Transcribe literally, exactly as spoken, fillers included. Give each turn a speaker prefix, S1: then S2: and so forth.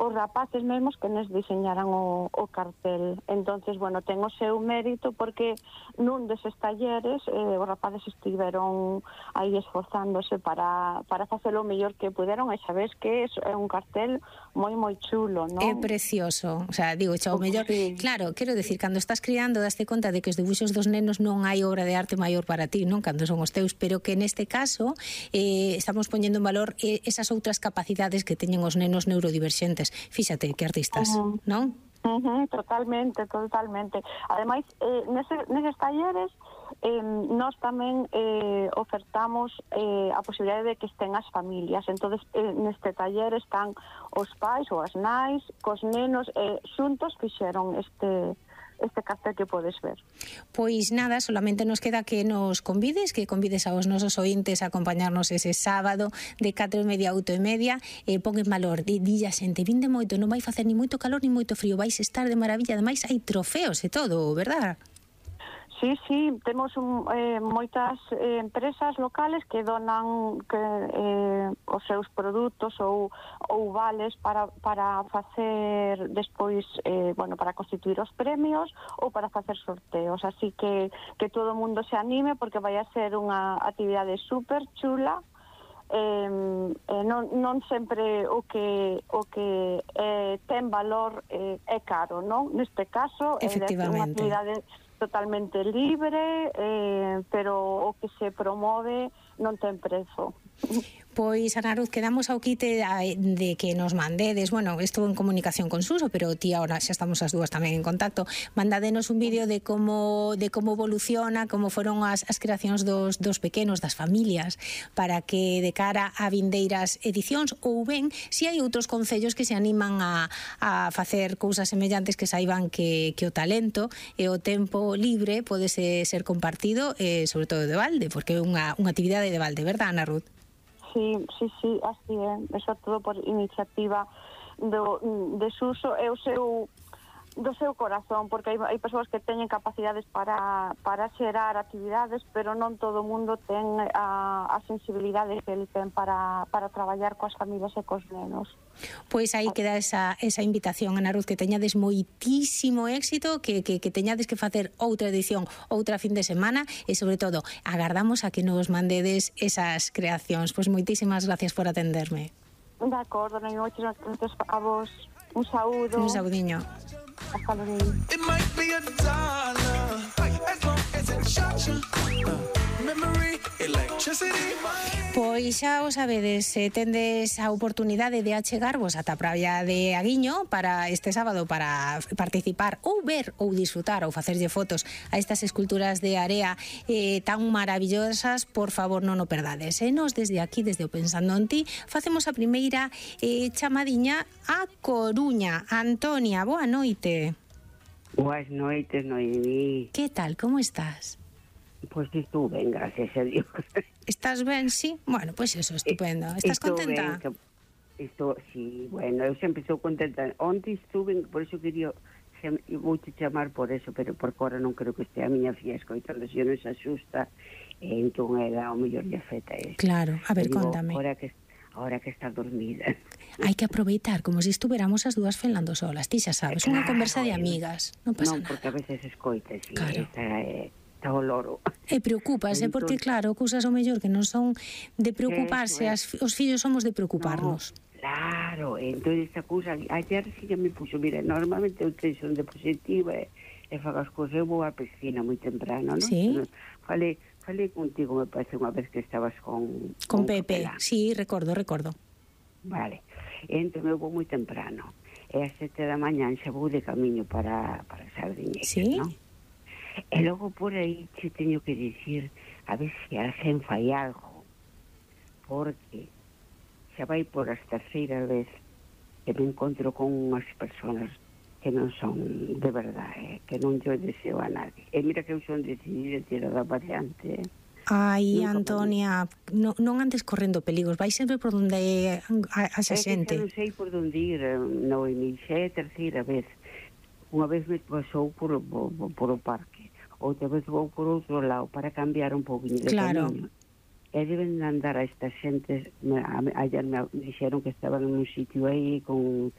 S1: os rapaces mesmos que nos diseñaran o, o cartel. Entonces, bueno, ten o seu mérito porque nun deses talleres eh, os rapaces estiveron aí esforzándose para, para facer o mellor que puderon, e sabes que é un cartel moi moi chulo, non?
S2: É precioso, o sea, digo, xa o mellor,
S1: Sí.
S2: claro, quero decir, cando estás criando daste conta de que os debuxos dos nenos non hai obra de arte maior para ti, non? Cando son os teus, pero que neste caso eh, estamos poñendo en valor eh, esas outras capacidades que teñen os nenos neurodiverxentes. Fíxate que artistas,
S1: Uh-huh.
S2: non?
S1: Uh-huh, totalmente, totalmente. Ademais, eh, nese, neses talleres eh, nós tamén eh, ofertamos eh, a posibilidade de que estén as familias. Entonces, eh, neste taller están os pais ou as nais cos nenos, eh, xuntos fixeron este este cartel que podes ver.
S2: Pois nada, solamente nos queda que nos convides, que convides aos nosos ointes a acompañarnos ese sábado de catro e media a oito e media, e pon en valor, di, di a xente, vinde moito, non vai facer ni moito calor ni moito frío, vais estar de maravilla, ademais hai trofeos e todo, verdad?
S1: Sí, sí, temos un, eh, moitas eh, empresas locales que donan que, eh, os seus produtos ou, ou vales para, para facer despois, eh, bueno, para constituir os premios ou para facer sorteos, así que que todo o mundo se anime porque vai a ser unha actividade super chula. Eh, eh, non, non sempre o que o que eh, ten valor eh, é caro, non? Neste caso é unha actividade totalmente libre, eh, pero o que se promove non ten prezo.
S2: Pois, Ana Ruth, quedamos ao quite de que nos mandedes, bueno, estou en comunicación con Suso, pero ti ahora xa estamos as dúas tamén en contacto, mandadenos un vídeo de como de como evoluciona, como foron as, as creacións dos, dos pequenos, das familias, para que de cara a vindeiras edicións, ou ben, se hai outros concellos que se animan a, a facer cousas semellantes, que saiban que, que o talento e o tempo libre pode ser, ser compartido, eh, sobre todo de balde, porque é unha, unha actividade de balde, verdad, Ana Ruth?
S1: Sí, sí, sí, así é. Eso todo por iniciativa do, de Suso e o seu do seu corazón, porque hai, hai persoas que teñen capacidades para, para xerar actividades, pero non todo o mundo ten a, a sensibilidade que ele ten para, para traballar coas familias e cos nenos.
S2: Pois aí queda esa, esa invitación, Ana Ruth, que teñades moitísimo éxito, que, que, que teñades que facer outra edición, outra fin de semana, e sobre todo, agardamos a que nos mandedes esas creacións. Pois moitísimas gracias por atenderme.
S1: De acordo, non moitísimas gracias a vos. Un saúdo.
S2: Un saudiño.
S1: Hasta luego.
S3: It might be a dollar, as long as it shocks you. Memory, electricity.
S2: Pois xa o sabedes, se tendes a oportunidade de achegarvos ata a praia de Aguiño para este sábado para participar ou ver ou disfrutar ou facerlle fotos a estas esculturas de area eh, tan maravillosas, por favor non o perdades. E nos desde aquí, desde o Pensando en Ti, facemos a primeira eh, chamadiña a Coruña. Antonia, boa noite.
S4: Boas noites, Noemí.
S2: Que tal, como estás?
S4: Pois pues estou ben, gracias a Dios.
S2: Estás ben, sí? Bueno, pois pues eso, estupendo. Estás
S4: estou
S2: contenta?
S4: Ben, estou, sí, bueno, eu sempre estou contenta. Onte estuve, por eso quería, vou te chamar por eso, pero por fora non creo que estea a miña fía escoitando, se non se asusta, e entón era o mellor de afeta eso.
S2: Claro, a ver,
S4: digo,
S2: contame.
S4: Ahora que, ahora que está dormida.
S2: Hai que aproveitar, como se estuveramos as dúas falando solas, ti xa sabes,
S4: claro,
S2: unha conversa de amigas, non pasa
S4: non,
S2: nada.
S4: Non, porque a veces escoita, sí,
S2: claro.
S4: Esta é... o loro.
S2: E preocúpase, entón, porque claro, cousas o mellor que non son de preocuparse, as, os fillos somos de preocuparnos.
S4: No, claro, entón esta cousa, ayer sí que me puxo, mira, normalmente eu tenho de positiva e, e fago as cousas, eu vou á piscina moi temprano, non?
S2: Sí.
S4: Falei, falei contigo, me parece unha vez que estabas con...
S2: Con, con Pepe, Capelán. Sí, recordo, recordo.
S4: Vale, entón eu vou moi temprano, e a sete da mañán xa vou de camiño para, para Sardiñeira,
S2: sí?
S4: Non? E logo por aí te teño que dicir a ver se alguén fai algo, porque xa vai por as terceira vez que me encontro con unhas persoas que non son de verdade, eh, que non yo deseo a nadie. E mira que eu son decidida tirada para diante, eh.
S2: Ai, nunca Antonia, non, non andes correndo peligros, vai sempre por onde a xa xente.
S4: É que non sei por onde ir, Noemi, xa é a terceira vez. Unha vez me pasou por, por, por o parque, outra vez vou por outro lado para cambiar un pouquinho de
S2: claro.
S4: Camiño. E deben andar a estas xentes, ayer me dixeron que estaban en un sitio aí con